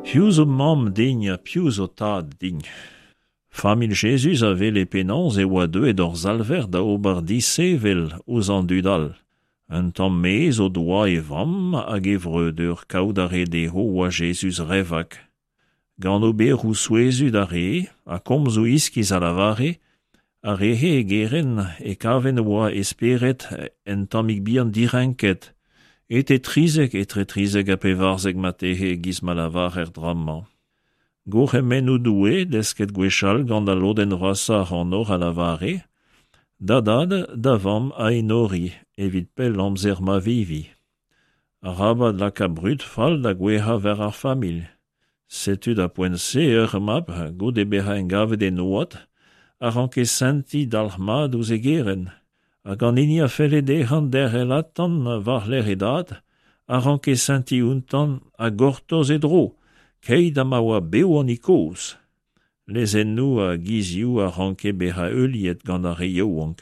Piv zo mamm din ha piv zo tad din ? Familh Jezuz a wele penaos e oa deuet hor Salver da ober disheñvel ouzh an dud all. Un tamm mezh o doa e vamm hag e vreudeur kaout a rae dezho oa Jezuz re vak. Gant oberoù souezhus a rae ha komzoù iskis a lavare, ar re-se e gerent e kavent oa e spered un tammig bihan direnket, etre 13, etre 13 ha 14 marteze e-giz ma lavarer dra-mañ. Gourc'hemennoù Doue, desket gwechall gant al lodenn vrasañ ac'hanoc'h a lavare: Da dad, da vamm a enori, evit pell amzer ma vevi. Arabat lakaat brud fall da gouezhañ war ar familh. Setu d'ar poent-se ur mab, goude bezañ engavet en oad, a ranke sentiñ dalc'hmat ouzh e gerent, hag an hini a felle dezhañ derc'hel atav war-lerc'h e dad, a ranke sentiñ outañ ha gortoz e dro, keit ha ma oa bev an hini kozh. Lezennoù ha gizioù a ranke bezañ heuliet gant ar re yaouank.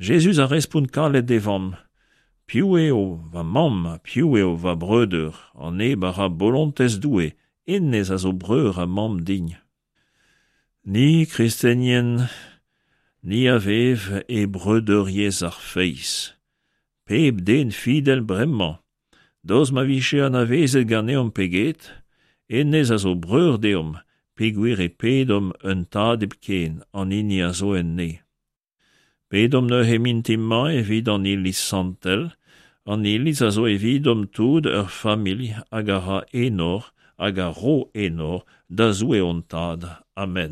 Jezuz a respont kalet d'e vamm, Piv eo va mamm ha piv eo va breudeur? An neb a ra bolontez Doue, hennezh a zo breur ha mamm din. Ni, kristenien, ni a vev e breudeuriezh ar feiz. Pep den fidel bremañ, daoust ma vije anavezet ganeomp pe get, hennezh a zo breur deomp, peogwir e pedomp un tad hepken, an hini a zo en neñv. Pedomp neuze mintin-mañ evit an Iliz santel, an Iliz a zo evidomp tout ur familh hag a ra enor hag a ro enor da Zoue hon Tad. Amen.